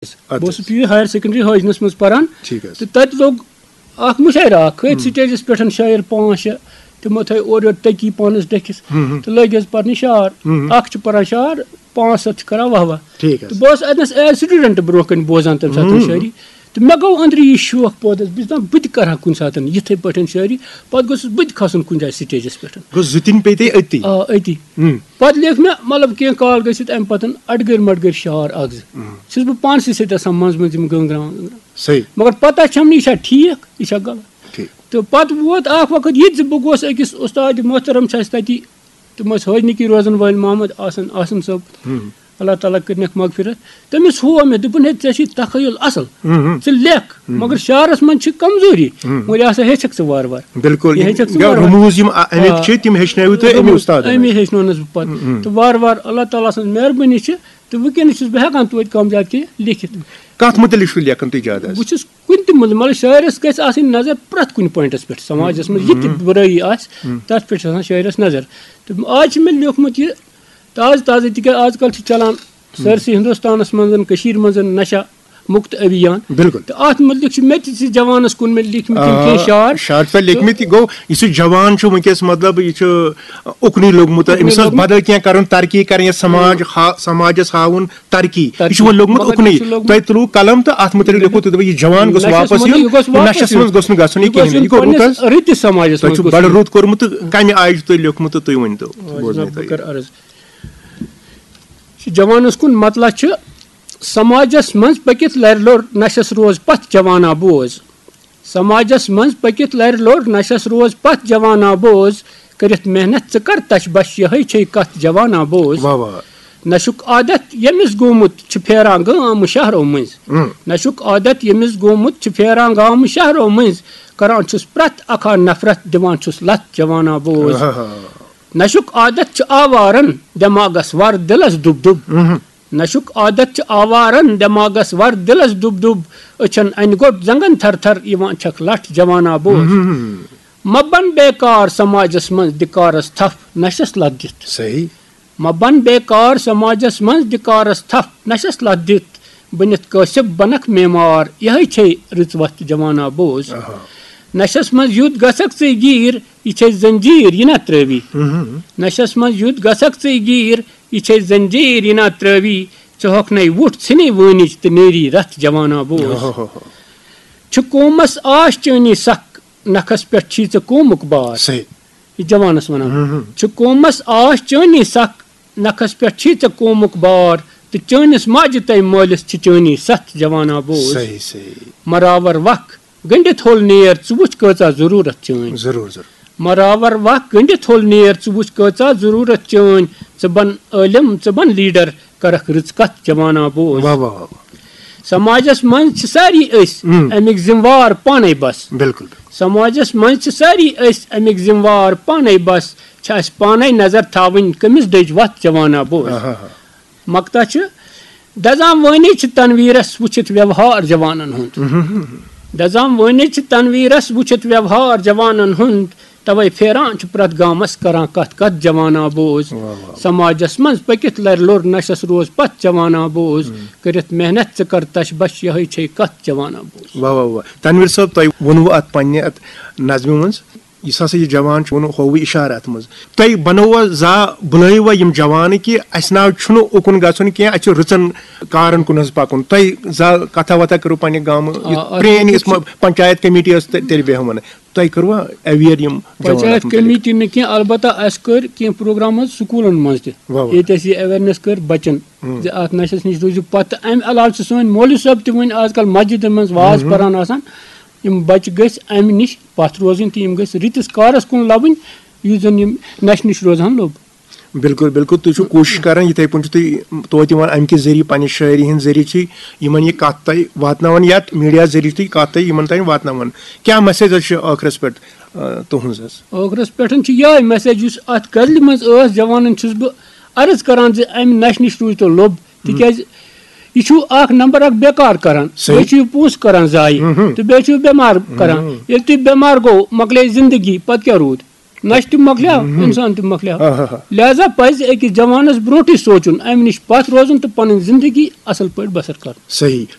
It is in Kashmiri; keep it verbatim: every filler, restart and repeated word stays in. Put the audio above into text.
بہٕ اوسُس پی یوٗ ہایر سیکنڈری حٲجنَس منٛز پَران۔ ٹھیٖک حظ۔ تہٕ تَتہِ لوٚگ اَکھ مُشاعرٕ اَکھ، کھٔتۍ سٹیجَس پٮ۪ٹھ شٲعر پانٛژھ شےٚ، تِمو تھٲے اورٕ یورٕ تٔکی پانَس ڈٔکھِس، تہٕ لٲگۍ حظ پَرنہِ شعر۔ اَکھ چھُ پَران شعر، پانٛژھ سَتھ چھِ کَران واہ واہ۔ ٹھیٖک حظ۔ تہٕ بہٕ اوسُس اَتہِ نَس ایز سٹوٗڈنٛٹ برونٛہہ کَنہِ بوزان تَمہِ ساتہٕ شٲعری۔ تہٕ مےٚ گوٚو أنٛدرٕ یہِ شوق پٲدٕ، بہٕ چھُس دَپان بہٕ تہِ کَرٕ ہا کُنہِ ساتہٕ یِتھَے پٲٹھۍ شٲعری۔ پَتہٕ گوٚژھُس بہٕ تہِ کھَسُن کُنہِ جایہِ سٹیجَس پٮ۪ٹھ۔ گوٚو زٕ تِنۍ پیٚیہِ تۄہہِ أتی۔ آ، أتی۔ پَتہٕ لیکھ مےٚ، مطلب، کینٛہہ کال گٔژھِتھ اَمہِ پَتہٕ اَڈٕگٔرۍ مَڈٕگٔرۍ شعر اَکھ زٕ۔ چھُس بہٕ پانسٕے سۭتۍ آسان منٛزٕ منٛزٕ یِم گٔنٛگراوان، گٔنٛگراوان۔ صحیح۔ مگر پَتہ چھَم نہٕ یہِ چھا ٹھیٖک، یہِ چھا غلط۔ ٹھیٖک۔ تہٕ پَتہٕ ووت اَکھ وقت یہِ تہِ زِ بہٕ گوس أکِس اُستادِ محترم چھِ اَسہِ تَتی، تِم ٲسۍ حٲج نِکی روزَن وٲلۍ محمد آسن، آسن صٲب۔ اللہ تعالیٰ کٔرنَکھ مغفرت۔ تٔمِس ہوو مےٚ، دوٚپُن، "ہے، ژےٚ چھُے تخیل اصل، ژٕ لیکھ، مگر شعرس منٛز چھِ کمزوری، مگر یہِ ہسا ہیٚچھکھ ژٕ وارٕ وارٕ۔" بِلکُل، یہِ ہیٚچھکھ ژٕ یِم وارٕ وارٕ۔ رموٗز یِم آ، اَمِکۍ آ۔ چھِ، تِم ہیٚچھنٲوِو تُہۍ أمی رموٗز، اُستادن۔ أمی ہیٚچھنونس بہٕ پتہٕ۔ تہٕ وارٕ وارٕ اللہ تعالیٰ سٕنٛز مہربٲنی چھِ، تہٕ وٕنکیٚنس چھُس بہٕ ہٮ۪کان توتہِ کم زیادٕ کینٛہہ لیکھِتھ۔ کتھ مُتعلق چھُو لیکھان تُہۍ زیادٕ حظ؟ بہٕ چھُس کُنہِ تہِ مُل-، مطلب، شٲعرس گژھِ آسٕنۍ نظر پرٛٮ۪تھ کُنہِ پوینٹس پٮ۪ٹھ، سماجس منٛز یہِ تہِ بُرٲیی آسہِ، تتھ پٮ۪ٹھ چھِ آسان شٲعرس نظر۔ تہٕ آز چھِ مےٚ لیوٗکھمُت یہِ تازٕ تازٕ، تِکیٛازِ آز کل چھِ چلان سٲرسٕے ہندوستانس منٛز، کٔشیٖرِ منٛز نشہ مُکت ابھیان۔ بِلکُل۔ تہٕ اتھ مُتعلق چھِ مےٚ تہِ زِ جوانس کُن مےٚ لیٖکھمٕتۍ یِم آ، کینٛہہ شعر۔ شعر چھِ تۄہہِ لیکھمٕتۍ، یہِ گوٚو، یُس یہِ جوان چھُ وٕنکیٚس، مطلب، یہِ چھُ اُکنُے لوٚگمُت، اُکنُے أمِس ٲس لوٚگمُت۔ بدل کینٛہہ کرُن، ترقی کرٕنۍ، یا سماج ہا-، سماجس ہاوُن ترقی۔ یہِ چھُ ترقی۔ وۄنۍ لوٚگمُت مگر اُکنُے۔ یہِ چھُ لوٚگمُت۔ تۄہہِ تُلوُ قلم تہٕ اتھ مُتعلق لیوٚکھُ تُہۍ، دوٚپُ، یہِ جوان گوٚژھ نشس واپس منٛز یُن، یہِ گوٚژھ واپس نشس یُن۔ منٛز گوٚژھ نہٕ گژھُن یہِ یہِ گوٚژھ کِہیٖنۍ۔ یُن یہِ گوٚو رُت پننِس حظ۔ رٕتِس سماجس تۄہہِ منٛز چھُو گوٚژھ بڑٕ یُن۔ رُت کوٚرمُت تہٕ کمہِ آیہِ چھُ تۄہہِ لیوٚکھمُت تہٕ تُہۍ ؤنۍ تو۔ آ، بوزنہٕ جناب، تۄہہِ۔ بہٕ کرٕ عرض۔ چھُ جوانس کُن مطلع چھُ، سماجس منٛز پٔکِتھ لرِ لوٚر نشس روز پتھ جوانا بوز۔ سماجس منٛز پٔکِتھ لرِ لوٚر نشس روز پتھ جوانا بوز۔ کٔرِتھ محنت ژٕ کر تش بش یہے چھے کتھ جوانا بوز۔ واہ واہ۔ نشُک عادت ییٚمِس گوٚمُت چھُ پھیران گام شہرو مٔنٛزۍ۔ نشُک عادت ییٚمِس گوٚمُت چھُ پھیران گام شہرو مٔنٛزۍ۔ کران چھُس پرٛٮ۪تھ اکھا نفرت دِوان چھُس لتھ جوانا بوز۔ آہا۔ نشُک عادت چھُ آوارن دٮ۪ماغس ور دِلس دُب دُب۔ نشُک عادت چھُ آوارن دٮ۪ماغس ور دِلس دُب دُب۔ أچھن انہِ گوٚٹ زنگن تھر تھر یِوان چھکھ لٹھ جوانا بوز۔ مہ بن بیکار سماجس منٛز دِکارس تھپھ نشس لتھ دِتھ۔ صحیح۔ مہ بن بیکار سماجس منٛز دِکارس تھپھ نشس لتھ دِتھ۔ بٔنِتھ کٲسِب بنکھ میمار یہے چھے رٕژ وتھ جوانا بوز۔ نشس منٛز یُتھ گژھکھ ژٕے گیٖر یہِ چھے زنجیٖر یہِ نہ ترٲوی۔ نشس منٛز یُتھ گژھکھ ژٕے گیٖر یہِ چھے زنجیٖر یہِ نہ ترٲوی۔ ژٕ ہۄکھ نے وُٹھ ژھٕنے وٲنِج تہٕ نیری رتھ جوانا بوز۔ چھُ قومس آش چٲنی سکھ نکھس پٮ۪ٹھ چھی ژےٚ قومُک بار۔ صحیح۔ یہِ جوانس ونان۔ چھُ قومس آش چٲنی سکھ نکھس پٮ۪ٹھ چھی ژےٚ قومُک بار۔ تہٕ چٲنِس ماجہِ تۄہہِ مٲلِس چھِ چٲنی ستھ جوانا بوز۔ صحیح، صحیح۔ مراور وکھ گٔنڈِتھ ہول نیر ژٕ وٕچھ کۭژاہ ضروٗرت چٲنۍ۔ ضروٗر، ضروٗر۔ مراور وکھ گٔنڈِتھ ہول نیر ژٕ وٕچھ کۭژاہ ضروٗرت چٲنۍ۔ ژٕ بن عٲلِم، ژٕ بن لیڈر، کرکھ رٕژ کتھ جوانا بوز۔ واہ، واہ، واہ، واہ۔ سماجس منٛز چھِ سٲری أسۍ اَمِکۍ ذمہٕ وار پانے بس۔ بِلکُل، بِلکُل۔ سماجس منٛز چھِ سٲری أسۍ اَمِکۍ ذمہٕ وار پانے بس۔ چھِ اَسہِ پانے نظر تھاوٕنۍ کٔمِس دٔج وتھ جوانا بوز۔ آہا۔ مقطع چھُ، دزان وٲنی چھِ تنویرس وٕچھِتھ ویوہار جوانن ہُنٛد۔ دزان وٲنی چھِ تنویرس وٕچھِتھ ویوہار جوانن ہُنٛد۔ توے پھیران چھُ پرٛٮ۪تھ گامس کران کتھ کتھ جوانا بوز۔ واہ، واہ۔ سماجس منٛز پٔکِتھ لرِ لوٚر نشس روز پتھ جوانا بوز۔ کٔرِتھ محنت ژٕ کر تش بش یہے چھے کتھ جوانا بوز۔ واہ، واہ، واہ۔ تنویر صٲب، تۄہہِ ووٚنوٕ اتھ پننہِ اتھ نظمہِ منٛز، یُس ہسا یہِ جوان چھُ، ووٚنوٕ ہووُے اشارٕ اتھ منٛز۔ تۄہہِ بنووا زا بُلٲیوا یِم جوانہٕ کہِ اسہِ ناو چھُنہٕ اُکُن گژھُن کینٛہہ، اسہِ چھُ رٕژن کارن کُن حظ پکُن۔ تۄہہِ زا کتھا وتھا کٔرٕو پننہِ گامہٕ، آ، یُتھ اتھ پرٛٲنۍ منٛز یُس چھُ ما-، پنچایت کمیٹی ٲس، تہِ-، تیٚلہِ بیٚہوان۔ تۄہہِ کٔروا aware یِم جوان پنچایت اتھ مُتعلق؟ کمیٹی نہٕ کینٛہہ، البتہ اَسہِ کٔرۍ کینٛہہ پروگرام حظ سکوٗلن منٛز تہِ۔ واہ، واہ۔ ییٚتہِ اَسہِ یہِ awareness کٔر بچن زِ اتھ نشس نِش روٗزِو پتھ۔ تہٕ امہِ علاوٕ چھِ سٲنۍ مولوی صٲب تہِ وُنہِ آز کل مسجدن منٛز واز پران آسان۔ یِم بچہِ گٔژھۍ امہِ نِش پتھ روزٕنۍ تہٕ یِم گٔژھۍ رٕتِس کارس کُن لبٕنۍ، یُس زن یِم نشہِ نِش روزہن لوٚب۔ بِلکُل، بِلکُل۔ تُہۍ چھِو کوٗشِش کران، یِتھَے پٲٹھۍ چھِو تُہۍ توتہِ یِوان، اَمہِ کہِ ذٔریعہٕ، پنٛنہِ شٲعری ہِنٛدۍ ذٔریعہٕ چھِ یِمَن یہِ کَتھ تۄہہِ واتناوان، یَتھ میٖڈیا ذٔریعہٕ چھِ تُہۍ کَتھ تۄہہِ یِمَن تام واتناوان۔ کیٛاہ message حظ چھِ ٲخرَس پٮ۪ٹھ، آ، تُہٕنٛز حظ؟ ٲخرَس پٮ۪ٹھ چھِ یِہوٚے message، یُس اَتھ غزلہِ منٛز ٲس، جوانَن چھُس بہٕ عرض کران زِ اَمہِ نَشہِ نِش روٗزۍتو لوٚب، تِکیٛازِ یہِ چھُو اَکھ نمبر اَکھ بیکار کران، صحیح۔ بیٚیہِ چھُو پونٛسہٕ کران ضایع، تہٕ بیٚیہِ چھُو بٮ۪مار کران۔ ییٚلہِ تُہۍ بٮ۪مار گوٚو، مۄکلے زِندگی، پَتہٕ کیٛاہ روٗد؟ نشہٕ تہِ مۄکلیو، انسان تہِ مۄکلیو۔ لہذا پزِ أکِس جوانس برونٹھٕے سونچُن، امہِ نِش پتھ روزُن تہٕ پنٕنۍ زندگی اصل پٲٹھۍ بسر کرُن۔ صحیح۔